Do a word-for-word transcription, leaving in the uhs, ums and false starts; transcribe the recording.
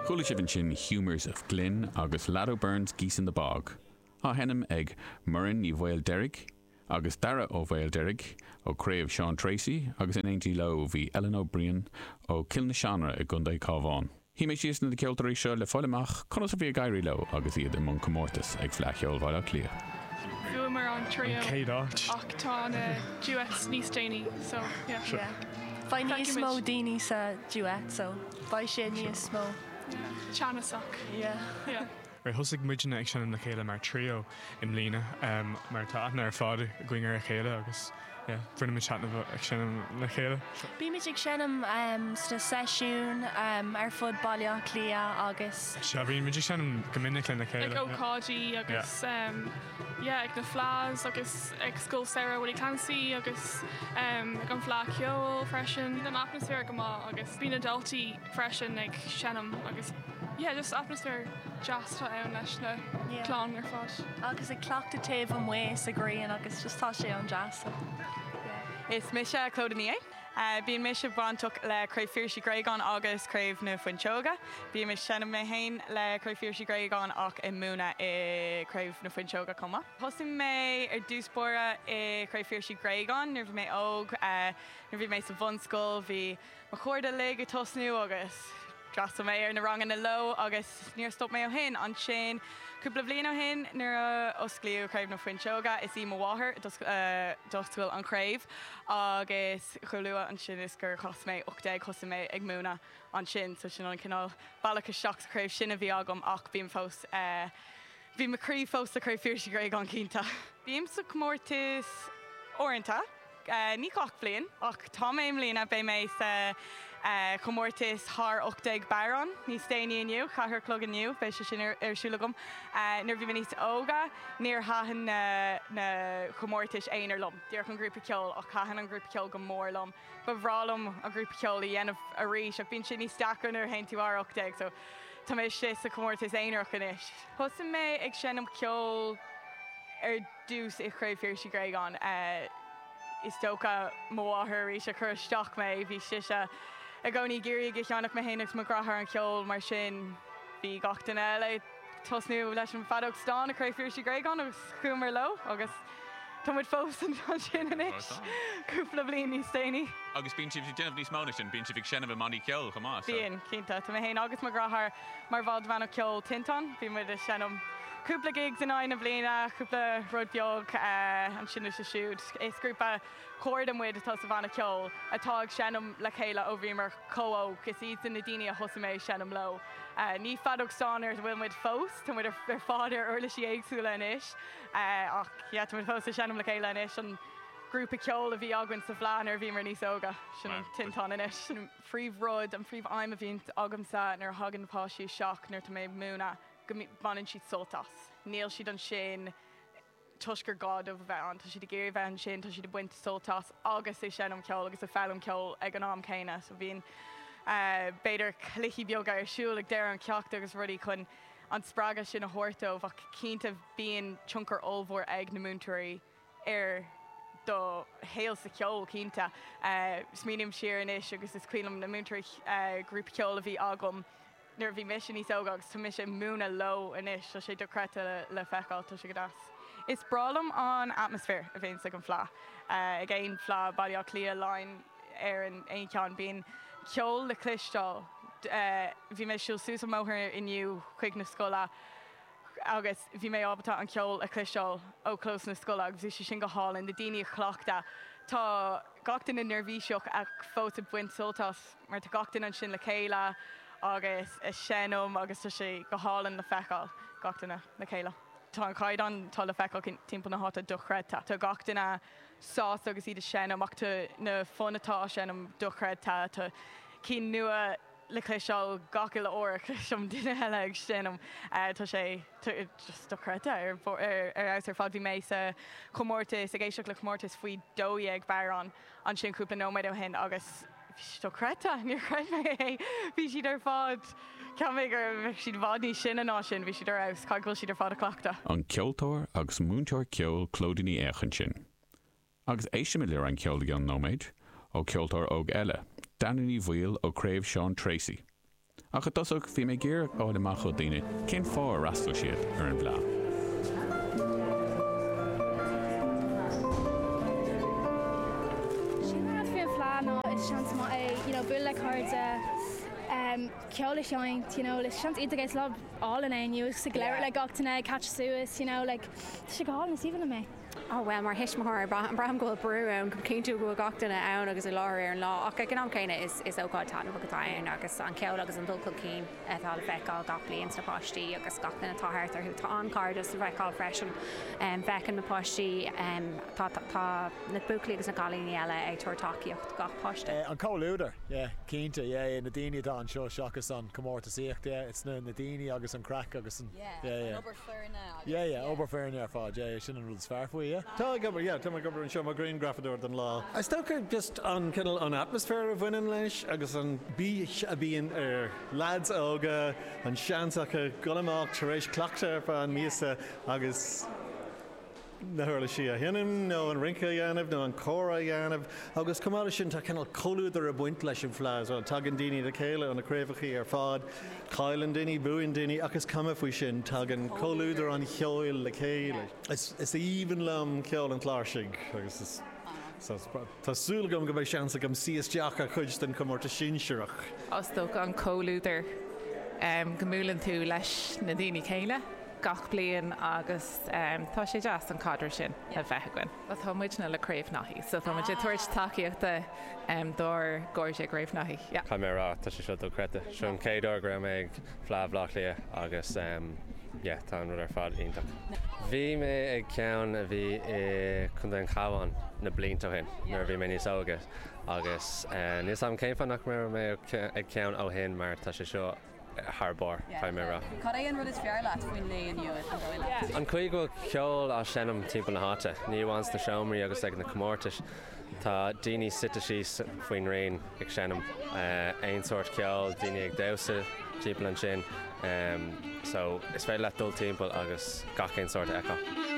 Chuala sibh ansin Humours of Glin agus Lado Burns Geese in the Bog. Á sheinm ag Muireann Ní Mhaoildeirg agus Dara Ó Mhaoildeirg ó Craobh Sean Treacy agus in éindí leo bhí Ellen O'Brien ó Cill na Seanra i gContae Cabhán. Shuigh mé síos na ceoltóirí seo le fáil amach conas a bhí ag éirí leo agus iad i mbun comórtas ag Fleadh Cheoil Bhaile Átha Cliath. Bhuamar an trio Céad áit. ach tá na duets níos déanaí so yeah. Sure. Beidh níos Feicfimid. mó daoine sa duet so beidh sé níos mó. Yeah. Teannasach. Yeah. Yeah. Right, thosaigh muidne ag seinm le chéile mar trio i mbliana um, mar tá aithne ar fad againn ar a chéile agus yeah, baineann muid taitneamh ag seinm le chéile. Bímid ag seinm um, sna seisiún um, ar fud Baile Átha Cliath agus Se bhíonn muid ag seinm go minic lena chéile. Ag ócáidí agus um, yeah, ag na fleadhs agus ag Scoil Sarah Willie Clancy agus um, ag an Fleadh Cheoil freisin. An atmaisféar go maith agus bíonn na daltaí freisin ag seinm agus yeah, just atmaisféar deas atá ann leis na Yeah. clann ar fad. agus ag cleachtadh taobh amuigh sa ghrian agus just tá sé an-deas. So. Is mise Clodagh Ní. Uh, Bíonn mise bainteach le Craobh Phiarsaigh Uí Ghréagáin agus Craobh na Fuinseoige. Bím ag seinm mé féin le Craobh Phiarsaigh Uí Ghréagáin ach ag múineadh i Craobh na Fuinseoige chomh maith. Thosaigh mé ar dtús báire i Craobh Phiarsaigh Uí Ghréagáin nuair bhí mé óg uh, nuair bhí mé sa bhunscoil bhí mo chairde uilig ag tosnú agus d'fhreastail mé ar na ranganna leo agus níor stop mé ó shin ansin cúpla bliain ó shin nuair a osclaíodh Craobh na Fuinseoige is í mo mháthair d'oscail an chraobh agus chomh luath ansin is gur chas mé ocht déag thosaigh mé ag múineadh ansin so sin an cineál bealach isteach sa chraobh sin a bhí agam ach bím fós uh, Bhí mo chroí fós sa Craobh Phiarsaigh Uí Ghréagáin cinnte. Bím sa comórtas uaireanta, uh, ní gach bliain ach tá mé i mbliana beidh mé sa uh, chomórtas thar ocht déag bodhrán níos déanaí inniu, ceathair a chlog inniu, beidh sé sin ar, ar siúl agam. Uh, nuair bhí mé níos óga, níor thaitin na, na comórtais aonair liom. Díreach an grúpa ceoil ach thaitin an grúpa ceoil go mór liom. Ba bhreá liom an grúpa ceoil a dhéanamh arís ach bíonn sé níos deacra nuair a théann tú thar ocht déag, so tá mé sé sa comórtas aonarach anois. Thosaigh mé ag seinm ceol ar dtús i Craobh Phiarsaigh Uí Ghréagáin. Uh, is dócha mo mháthair arís a chuir isteach mé bhí sise i gcónaí ag iarraidh go cheannach mé féin agus mo dheartháir an ceol mar sin bhí gach duine eile tosnú leis an feadóg stáin i Craobh Phiarsaigh Uí Ghréagáin agus chuamar leo agus tá muid fós ansin anois cúpla bliain níos déanaí. Agus bíonn sibh ag déanamh níos mó ná sin, bíonn sibh ag seinm i mbannaí ceoil chomh maith. so- Bíonn cinnte Tá mé féin agus mo dheartháir mar bhall de bhanna ceoil Tinteán, bhí muid ag seinm cúpla gigs in aghaidh na bliana, cúpla rud beag uh, ansin is siúd. Is grúpa cairde muid atá sa bhanna ceoil atá ag seinm le chéile ó bhíomar chomh hóg, is iad na daoine a thosaigh mé seinm leo. Uh, ní feadóg stáin ar bhfuil muid fós, Tá muid ar ar fad ar uirlisí éagsúla anois, uh, ach yeah, tá muid fós ag seinm le chéile anois an grúpa ceoil a bhí againn sa bhFleadh nuair a bhíomar níos óga sin Wow. Tinteán anois. An phríomhrud an phríomhaidhm a bhíonn agamsa nuair a thagann páistí isteach nuair tá mé ag múineadh go mí- baineann siad sult as. Níl siad ansin toisc gur gá dóibh a bheith ann, Tá siad ag iarraidh bheith ansin, tá siad ag baint sult as agus ag seinm ceol agus ag foghlaim ceol ag an am céanna, so bhíonn uh, b'fhéidir cluichí beaga ar siúl ag deireadh an ceacht agus rudaí chun an spreagadh sin a thabhairt dóibh ach cinnte bíonn tionchar ollmhór ag na múinteoirí ar do shaol sa cheol cinnte. Uh, Smaoiním siar anois agus is cuimhin liom na múinteoirí uh, grúpa ceoil a bhí agam nuair a bhí mise níos óga agus tá mise ag múineadh leo anois, tá sé dochreidte le, le feiceáil tá sé go deas. Is breá liom an atmaisféar a bhíonn ag an Fleadh. Uh, ag aon Fleadh Baile Átha Cliath Laighean ar an aon cheann bíonn ceol le cloisteáil. Uh, bhí mé siúl suas an bóthar inniu chuig na scoile agus bhí mé ábalta an ceol a chloisteáil ó chlós na scoile agus bhí sé sin go hálainn na daoine ag cleachtadh. Tá gach duine neirbhíseach ach fós ag baint sult as mar tá gach duine ansin le chéile agus ag seinm agus tá sé go hálainn le feiceáil gach duine le chéile. Tá an caighdeán tá le feiceáil timpeall na háite dochreidte. Tá gach duine sásta agus iad ag seinm ach tá na foinn atá á seinm dochreidte tá cinn nua le cloisteáil gach uile uair cloisim duine eile ag seinm uh, tá sé just dochreidte ar ar ar ar fad bhí mé sa chomórtas ag éisteacht le comórtas faoi dó dhéag bodhrán ansin cúpla nóiméad ó shin agus bhí sé dochreidte níor chreid mé é bhí siad ar fad Ceap mé gur bheadh siad i bhfad níos sine ná sin bhí siad ar fheabhas go bhfuil siad ar fad ag cleachtadh. An ceoltóir agus múinteoir ceoil Clodagh Ní Eochaidh ansin. Agus éistfimid le roinnt ceoil i gceann nóiméid ó ceoltóir óg eile, Dana Ní Bhaoill ó Craobh Sean Treacy. Ach i dtosach bhí mé ag iarraidh fháil amach ó daoine cén fáth ar fhreastail siad ar an bhFleá. Sin an rud faoin Fleá ná is seans maith é you know, bualadh le cairde, um, ceol a sheinnt, you know, is seans iontach é is lá álainn é inniu agus ag labhairt le gach duine, catch suas, you know, like, tá sé go hálainn, is aoibhinn liom é. Oh well mar thuismitheoir braithim go bhfuil brú ann go cinntiú go bhfuil gach duine ann agus i láthair ar an lá ach ag an am céanna is is ócáid taitneamhach atá ann agus an ceol agus an dul chun cinn atá le feiceáil gach bliain sna páistí agus gach duine atá thart orthu tá an-chairdeas le feiceáil freisin feiceann na páistí tá tá na buachaillí agus na cailíní eile ag tabhairt tacaíocht gach páiste. An comhluadar, yeah, cinnte, yeah, na daoine atá anseo seachas an comórtasaíocht, yeah, it's na na daoine agus an craic agus an yeah, yeah. An obair foirne agus Yeah, yeah, obair foirne ar fad, yeah, sin an rud is fearr faoi, yeah. Tá ag obair, yeah, tá mé ag obair anseo mar ghrianghrafadóir don lá. Is dócha just an cineál an atmaisféar a bhaineann leis agus an bís a bhíonn ar lads óga, an seans acu dul amach tar éis cleachtadh ar feadh an míosa agus na huirlisí a sheinm nó an rince a dhéanamh nó an comhrá a dhéanamh agus chomh maith leis sin tá cineál comhluadar ag baint leis an Fleá as well. Tagann daoine le chéile ó na craobhacha ar fad, cailleann daoine, buann daoine ach is cuma faoi sin, tagann comhluadar an cheoil le chéile. Is is aoibhinn liom ceol an chláirsigh agus is so tá súil agam go mbeidh seans agam suí isteach ar chuid den chomórtas sinsearach. Is dócha an comhluadar um, go mbuaileann tú leis na daoine céanna gach bliain agus um, tá sé deas an caidreamh sin a bheith againn. Tá muidne le Craobh Naithí, so tá muid ag tabhairt tacaíochta um, dár gcairde Craobh Naithí. Yeah. Caithfidh mé a rá tá sé seo dochreidte. Seo an chéad uair go raibh mé ag Fleá Bhaile Átha Cliath agus um, yeah, tá an rud ar fad iontach. Bhí mé ag ceann a bhí i Contae an Chabháin na blianta ó shin nuair a bhí mé níos óige agus uh, níl a fhios agam cén fáth nach raibh mé ag ceann ó shin mar tá sé seo thar barr caithfidh mé a rá. Cad é an rud is fearr leat faoin lae inniu an dóigh leat? An chaoi go bhfuil ceol á seinm timpeall na háite, ní amháin sna seomraí agus ag na comórtais, tá daoine suite síos faoin ngrian ag seinm aon sórt ceoil, daoine ag damhsa timpeall ansin, um, so is féidir leat dul timpeall agus gach aon sórt a fheiceáil.